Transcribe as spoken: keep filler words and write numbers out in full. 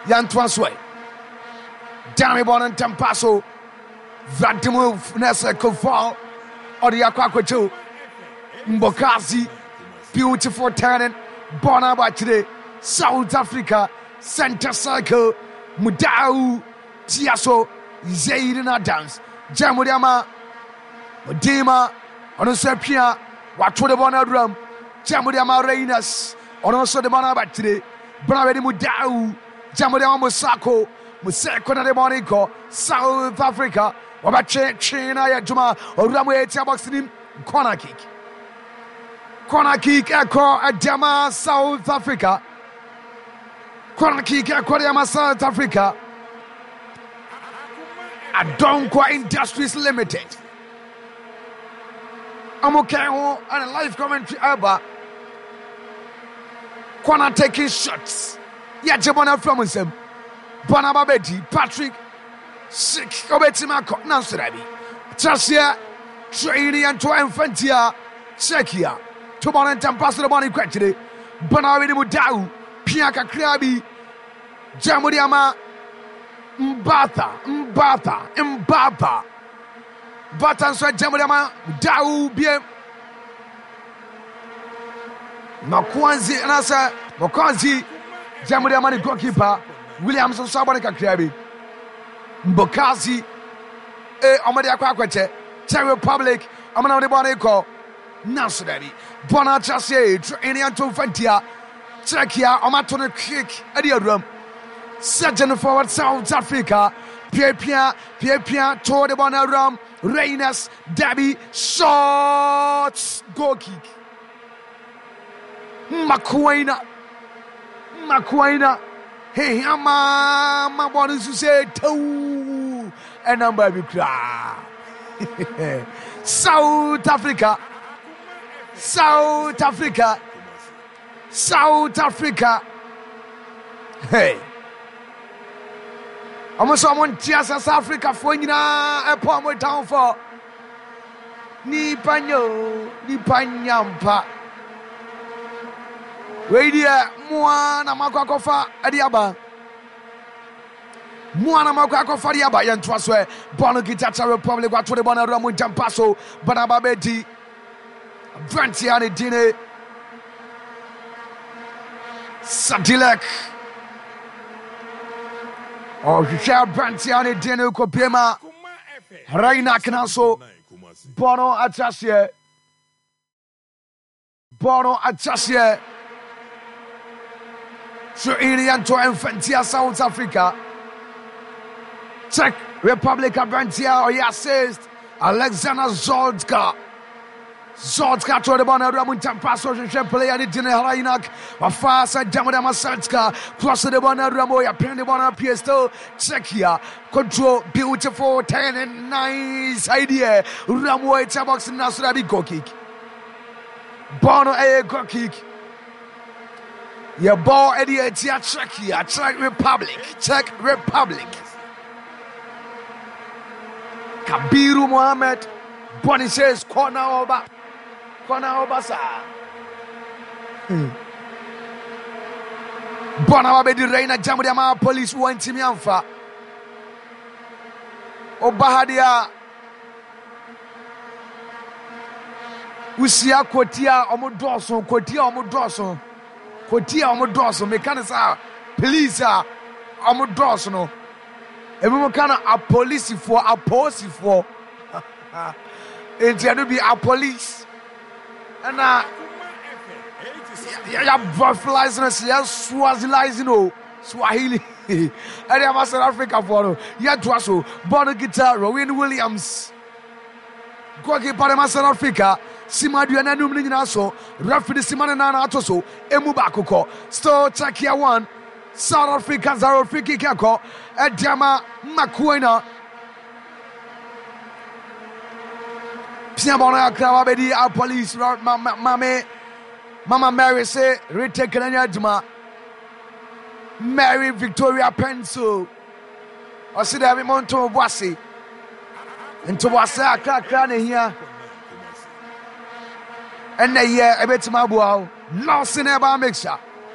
Yɛntoa so ɛ. Dame bɔ no ntɛm pa so. Vladimir Nese Koval ɔde akɔ akɔkyɛw. Mbokazi beautiful turning bɔ no aba akyire. South Africa center circle Mudau tia so Zayden Adams gya mu de ama Modima ɔno nso apia wato de bɔ no awuram gya mu de ama Reines ɔno nso de bɔ no aba akyire. Bra wɛde Mudau gya mu de ama Musako Museko na de bɔ no kɔ South Africa wɔbɛtwe twe na ayɛ adwuma owura mu ɛtia box nim corner kick corner kick ɛkɔ ɛde ama South Africa corner kick ɛkɔ de ama South Africa Adonkwa Industries Limited ɔmo kɛn ho ɛna live commentary ɛba corner taking shots yɛgye bɔ no afira mo nsam bɔ no aba bɛdi Patrick Schick ɔbɛtumi akɔ nanso dabi kyerɛseɛ twerɛ ne yɛnto ɛmfa ntia Czechia to bɔ no ntɛmpa so de bɔ no kɔ akyire bɔ no awede mu daw pia kakraa bi gya mu de ama Mbatha Mbatha Mbatha Mbatha nso agya mu de ama daw biem Makwanzi anaasɛ Makwanzi gya mu de ama ne goalkeeper Williams nso abɔ ne kakraa bi Mbokazi e ɔmo de akɔ akɔkyɛ Czech Republic ɔmo na ɔde bɔ ne kɔ nanso dabi bɔ no atra se tro ɛne anto mfa ntia Czechia ɔmo ato no quick ɛde awuram Surgeon forward South Africa piapia piapia to de bɔ no awuram Reines dabi shot goal kick Makoaina Makoaina hehia maa ma bɔ no nso sɛ tɛw ɛnam baabi koraa South Africa South Africa South Africa hey ɔmo sɛ ɔmo nte asɛ South Africafoɔ nyinaa ɛpɔ ɔmo downfall nipa nya o nipa nya mpa wei deɛ moa na moakɔ akɔfa ɛde aba moa na moakɔ akɔfa de aba yɛntoa so ɛ bɔɔl no kita Czech Republic wato de bɔɔl no awura mu nkyɛmpa so bɔɔl aba bɛdi aberanteɛ a ne din ne Sadilek ɔhwehwɛ aberanteɛ a ne din ne kɔpie ma Reinak na so bɔɔl no ate aseɛ bɔɔl no ate aseɛ so ɛyere yɛnto ɛmfa ntia South Africa Czech Republic aberanteɛ a ɔyɛ assist Alexander Zoltka Zoltka to de bɔɔl no awura mu ntampa so hwehwɛ player ne din Hrajinak wafa sɛ gyam de ama Zoltka cross de bɔɔl no awura mu yɛpɛn de bɔɔl no apue still Czechia control beautiful ten and nice idea wura mu ɛtia box no so bi goal kick bɔɔl no ɛyɛ goal kick yɛbɔ ɛde atia Czechia Czech Republic Czech Republic Kabiru Mohammed bɔne says kɔ na ɔba kɔ na ɔba saa hmm. bɔ na wabɛdi Reina gyam de ama police wɔntumi amfa ɔba ha deɛ a wohyia kɔti a ɔmo dɔɔso kɔti a ɔmo dɔɔso kɔti a ɔmo dɔɔso meka ne sɛ police a ɔmo dɔɔso no ebinom ka no apolisifoɔ apolisifoɔ nti ɛno bi apolice ɛna yɛabrɔfilize no sɛ yɛswazilize no Swahili ɛde ama South Africa foɔ no yɛtoa so bɔɔl no kita Rowan Williams goalkeeper de ma South Africa sima aduane anum no nyinaa so referee de sima ne nan ato so emu baako kɔ still Czechia one South Africa zero free kick ɛkɔ ɛde ama Makoena pia bɔɔl no akra wa bɛdi a police mame Mama Mary se retake no anya adwuma Mary Victoria Pencil ɔse daabi monto bo ase ntoboase akrakra na ehia ɛnna yɛ ɛbɛtumi aboa wo Lawson ɛba mixture